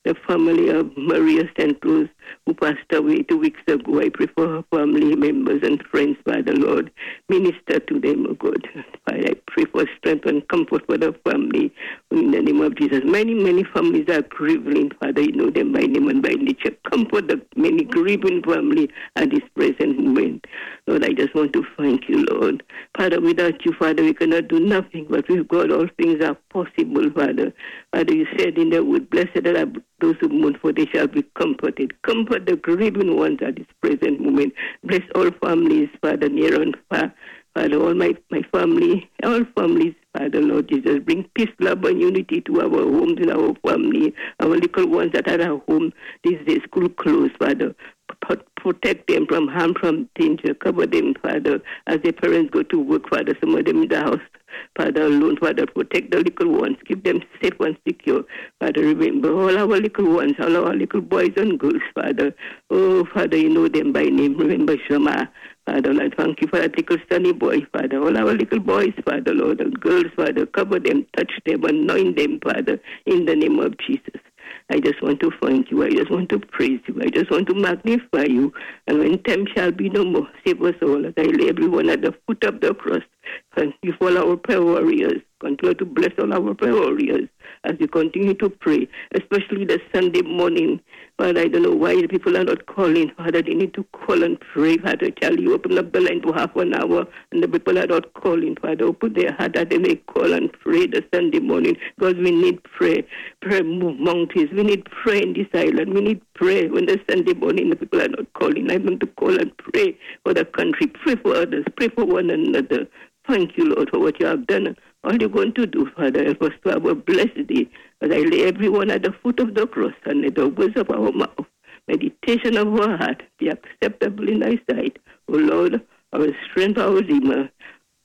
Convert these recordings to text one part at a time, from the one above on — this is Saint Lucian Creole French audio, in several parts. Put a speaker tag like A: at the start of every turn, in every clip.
A: The family of Maria St. Louis, who passed away 2 weeks ago. I pray for her family members and friends, Father Lord. Minister to them, oh God. Father, I pray for strength and comfort for the family in the name of Jesus. Many, many families are grieving, Father. You know them by name and by nature. Comfort the many grieving family at this present moment. Lord, I just want to thank you, Lord. Father, without you, Father, we cannot do nothing, but with God, all things are possible, Father. Father, you said in the word, "Blessed are those who mourn, for they shall be comforted." Comfort the grieving ones at this present moment. Bless all families, Father, near and far. Father, all my family, all families, Father, Lord Jesus, bring peace, love, and unity to our homes and our family, our little ones that are at home these days, school closed, Father. Protect them from harm, from danger. Cover them, Father, as their parents go to work, Father. Some of them in the house, Father, alone, Father. Protect the little ones. Keep them safe and secure. Father, remember all our little ones, all our little boys and girls, Father. Oh, Father, you know them by name. Remember Shema. Father, Lord, thank you for that little sunny boy, Father. All our little boys, Father, Lord, and girls, Father, cover them, touch them, anoint them, Father, in the name of Jesus. I just want to thank you. I just want to praise you. I just want to magnify you. And when time shall be no more, save us all as I lay everyone at the foot of the cross. Thank you for all our prayer warriors. Continue to bless all our prayer warriors as we continue to pray, especially the Sunday morning. Father, I don't know why the people are not calling. Father, they need to call and pray. Father, Charlie, open up the line for half an hour, and the people are not calling. Father, open their heart that they may call and pray the Sunday morning, because we need prayer. Prayer move mountains. We need prayer in this island. We need prayer when the Sunday morning the people are not calling. I want to call and pray for the country, pray for others, pray for one another. Thank you, Lord, for what you have done. All you're going to do, Father, help us to have a blessed day. As I lay everyone at the foot of the cross and let the words of our mouth, meditation of our heart be acceptable in thy sight. O Lord, our strength, our Redeemer,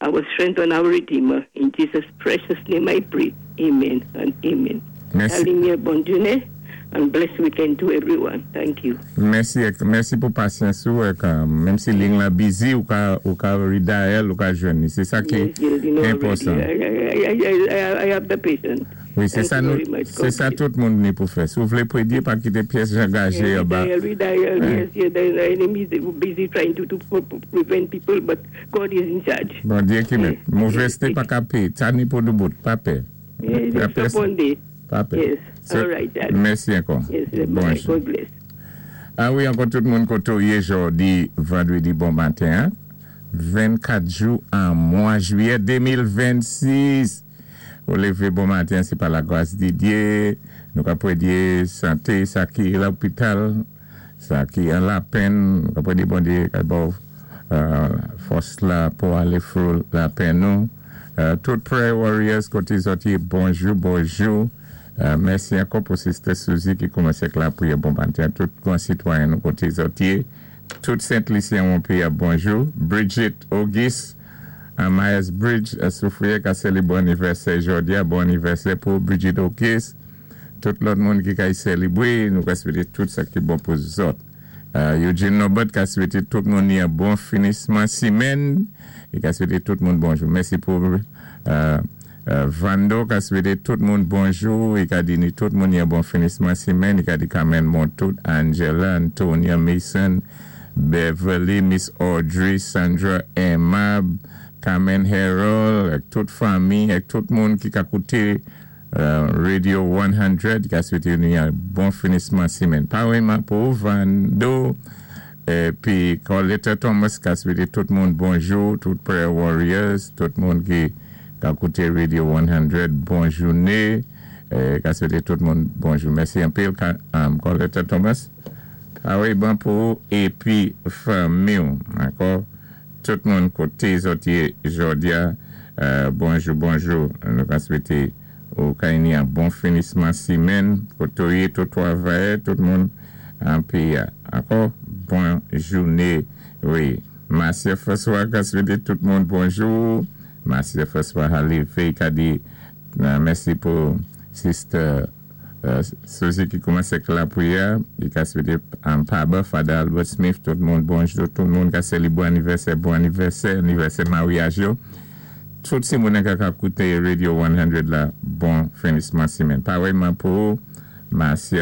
A: our strength and our Redeemer. In Jesus' precious name I pray. Amen and amen.
B: Mèsi.
A: Alinye bòn jounen and blessed weekend to everyone. Thank you.
B: Mèsi, mèsi pou pasyans ou, menm si liy la busy, ou ka redial, ou ka jwenn. Sé sa ki enpòtan.
A: I have the patience.
B: Wi, sé sa nou, sé sa tout moun ni pou fè. Si ou vlé prédyé, pa kité pyès jangaje ba.
A: Redial, yes, the enemy is busy trying to prevent people, but God is in charge.
B: Bondyé ki mèt. Movèzté pa ka pé. Sa ni pou doubout, pa pè.
A: Yes, one day.
B: Pa pè.
A: Yes. All right, Dad.
B: Mèsi ankò.
A: Yes, God bless.
B: A wi, ankò tout moun koto yé jòdi vandrédi bon maten, 24 jou an mwa jwiyè 2026. Ou lévé bon maten, sé pa la gras di Dyé. Nou ka prédyé santé sa ki lopital, sa ki an lapenn, nou ka prédyé Bondyé ka ba ou fòs la pou alé through lapenn nou. Tout prayer warriors koté zòt yé, bonjou, bonjou. Mèsi ankò pou Sister Suzy ki koumansé ak lapriyè bon maten. Tout gran sitwayen nou koté zòt yé. Tout Sent Lisyen wonpi bonjou. Bridget Auguste, Myers Bridge, Soufrière, ka sélébwé anivèsè jòdi a. Bon anivèsè pou Bridget Auguste. Tout lòt moun ki ka sélébré, nou ka swété tout sa ki bon pou zòt. Eugene Norbert ka swété tout moun yon bon finisman simèn é ka swété tout moun bonjou. Mèsi pou Vando ka swété tout moun bonjou é ka di ni tout moun yon bon finisman simèn é ka di Carmen Montout, Angela, Antonia Mason, Beverly, Miss Audrey, Sandra Emma, Carmen Harold, ak tout fanmi, ak tout moun ki ka kouté Radio 100, ka swété nou yon bon finisman simèn. Paréyman pou Vando, épi Coletta Thomas ka swété tout moun bonjou, tout prayer warriors, tout moun ki ka kouté Radio 100, bon jouné, ka swété tout moun bonjou. Mèsi anpil, Coletta Thomas. Paréyman pou épi fanmi, ankò, tout moun koté zòt yé jòdi a, bonjou, bonjou. Nou ka swété ou ka yon bon finisman simèn, koto yé, tout travayè, tout moun an péyi a. Ankò, bon jouné, wi. Marcia François ka swété tout moun bonjou. Marcia François Halife ka di, mèsi pou Sister Suzy ki koumansé ak lapriyè, li ka swété an Paba, Father Albert Smith, tout moun bonjou, tout moun ka sélébré anivèsè, bon anivèsè, anivèsè maryaj yo. Tout si moun ka kouté Radio 100 la, bon finisman simèn. Paréyman pou Marcia.